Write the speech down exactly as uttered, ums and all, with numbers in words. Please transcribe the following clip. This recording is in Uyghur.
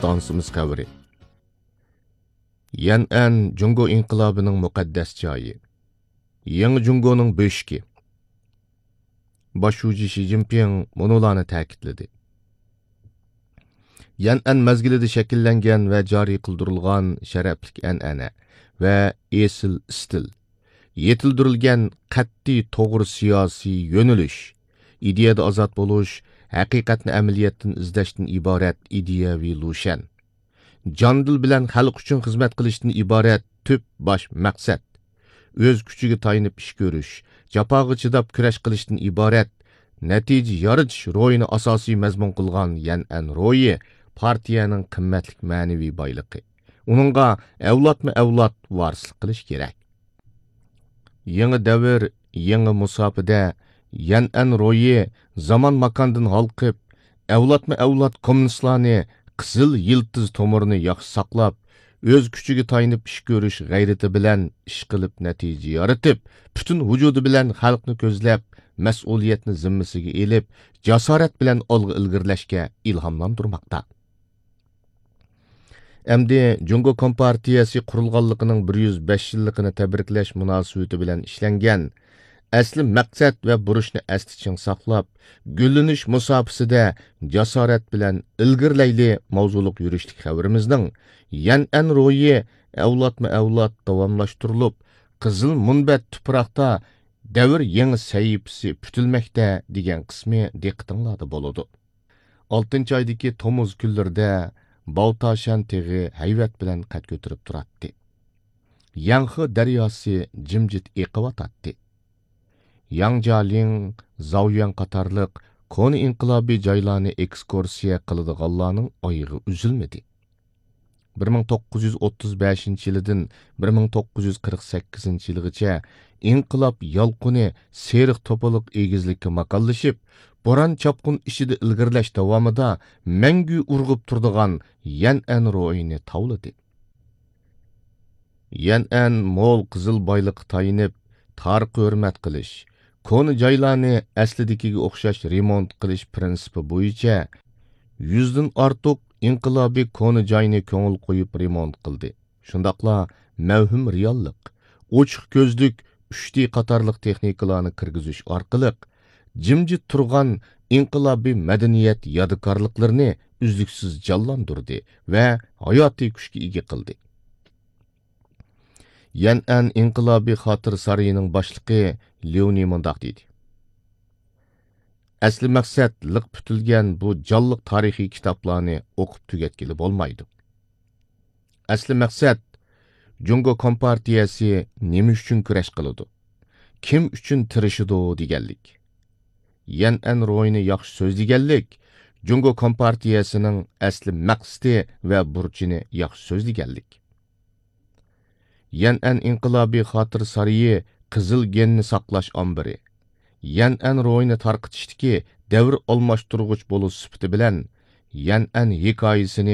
ئىستانسىمىز خەۋىرى. يەنئەن جۇڭگو ئىنقىلابىنىڭ مۇقەددەس جايى. يېڭى جۇڭگونىڭ بۆشۈكى. باش شۇجى شى جىنپىڭ مۇنۇلارنى تەكىتلىدى. يەنئەن مەزگىلىدە شەكىللەنگەن ۋە جارى قىلدۇرۇلغان شەرەپلىك ئەنئەنە ۋە ئېسىل ئىستىل، يېتىلدۈرۈلگەن قەتئىي توغرا سىياسىي يۆنىلىش، ئىدىيەدە ئازاد بولۇش، ھەقىقەتنى ئەمەلىيەتتىن ئىزدەشتىن ئىبارەت ئىدىيەۋى لۇشيەن، جان-دىل بىلەن خەلق ئۈچۈن خىزمەت قىلىشتىن ئىبارەت تۈپ باش مەقسەت، ئۆز كۈچىگە تايىنىپ ئىش كۆرۈش، جاپاغا چىداپ كۈرەش قىلىشتىن ئىبارەت نەتىجە يارىتىش روھىنى ئاساسىي مەزمۇن قىلغان يەنئەن روھى پارتىيەنىڭ قىممەتلىك مەنىۋى بايلىقى. ئۇنىڭغا ئەۋلادمۇ ئەۋلاد ۋارىسلىق قىلىش كېرەك. يېڭى دەۋر، يېڭى مۇساپىدە يەنئەن روھى زامان ماكاندىن ھالقىپ، ئەۋلادمۇ ئەۋلاد كوممۇنىستلارنى قىزىل يىلتىز تومۇرىنى ياخشى ساقلاپ، ئۆز كۈچىگە تايىنىپ ئىش كۆرۈش غەيرىتى بىلەن ئىش قىلىپ نەتىجە يارىتىپ، پۈتۈن ۋۇجۇدى بىلەن خەلقنى كۆزلەپ، مەسئۇلىيەتنى زىممىسىگە ئېلىپ، جاسارەت بىلەن ئالغا ئىلگىرىلەشكە ئىلھاملاندۇرماقتا. ئەمدى جۇڭگو كومپارتىيەسى قۇرۇلغانلىقىنىڭ بىر يۈز بەش يىللىقىنى تەبرىكلەش مۇناسىۋىتى بىلەن ئىشلەنگەن ئەسلى مەقسەت ۋە بۇرچنى ئەستە چىڭ ساقلاپ، گۈللىنىش مۇساپىسىدە جاسارەت بىلەن ئىلگىرىلەيلى ماۋزۇلۇق يۈرۈشلۈك خەۋىرىمىزنىڭ يەنئەن روھى ئەۋلادمۇ ئەۋلاد داۋاملاشتۇرۇلۇپ، قىزىل مۇنبەت تۇپراقتا دەۋر يېڭى سەھىپىسى پۈتۈلمەكتە دېگەن قىسمى دىققىتىڭلاردا بولىدۇ. ئالتىنچى ئايدىكى تومۇز كۈنلىرىدە باۋتاشەن تېغى ھەيۋەت بىلەن قەد كۆتۈرۈپ تۇراتتى. يەنخې دەرياسى جىمجىت ئېقىۋاتاتتى. ياڭ جيالىڭ، زاۋيۈەن قاتارلىق كونا ئىنقىلابىي جايلارنى ئېكسكۇرسىيە قىلىدىغانلارنىڭ ئايىغى ئۈزۈلمىدى. بىر مىڭ توققۇز يۈز ئوتتۇز بەشىنچى يىلىدىن بىر مىڭ توققۇز يۈز قىرىق سەككىزىنچى يىلغىچە ئىنقىلاب يالقۇنى سېرىق توپىلىق ئېگىزلىككە ماكانلىشىپ، بوران-چاپقۇن ئىچىدە ئىلگىرىلەش داۋامىدا مەڭگۈ ئۇرغۇپ تۇرىدىغان يەنئەن روھىنى تاۋلىدى. يەنئەن مول قىزىل بايلىققا تايىنىپ، تارىخقا ھۆرمەت قىلىش، كونا جايلارنى ئەسلىدىكىگە ئوخشاش رېمونت قىلىش پىرىنسىپى بويىچە يۈزدىن ئارتۇق ئىنقىلابىي كونا جاينى كۆڭۈل قويۇپ رېمونت قىلدى. شۇنداقلا مەۋھۇم رېئاللىق، ئوچۇق كۆزلۈك، ئۈچ دى قاتارلىق تېخنىكىلارنى كىرگۈزۈش ئارقىلىق، جىمجىت تۇرغان ئىنقىلابىي مەدەنىيەت يادىكارلىقلىرىنى ئۈزلۈكسىز جانلاندۇردى ۋە ھاياتىي كۈچكە ئىگە قىلدى. يەنئەن ئىنقىلابىي خاتىرە سارىيىنىڭ باشلىقى ليۇنى مۇنداق دېدى: ئەسلى مەقسەت لىق پۈتۈلگەن بۇ جانلىق تارىخىي كىتابلارنى ئوقۇپ تۈگەتكىلى بولمايدۇ. ئەسلى مەقسەت جۇڭگو كومپارتىيەسى نېمە ئۈچۈن كۈرەش قىلىدۇ، كىم ئۈچۈن تىرىشىدۇ دېگەنلىك. يەنئەن روھىنى ياخشى سۆزلىگەنلىك، جۇڭگو كومپارتىيەسىنىڭ ئەسلى مەقسىتى ۋە بۇرچىنى ياخشى سۆزلىگەنلىك. يەنئەن ئىنقىلابىي خاتىرە سارىيى قىزىل گېننى ساقلاش ئامبىرى، يەنئەن روھىنى تارقىتىشتىكى دەۋر ئالماشتۇرغۇچ بولۇش سۈپىتى بىلەن، يەنئەن ھېكايىسىنى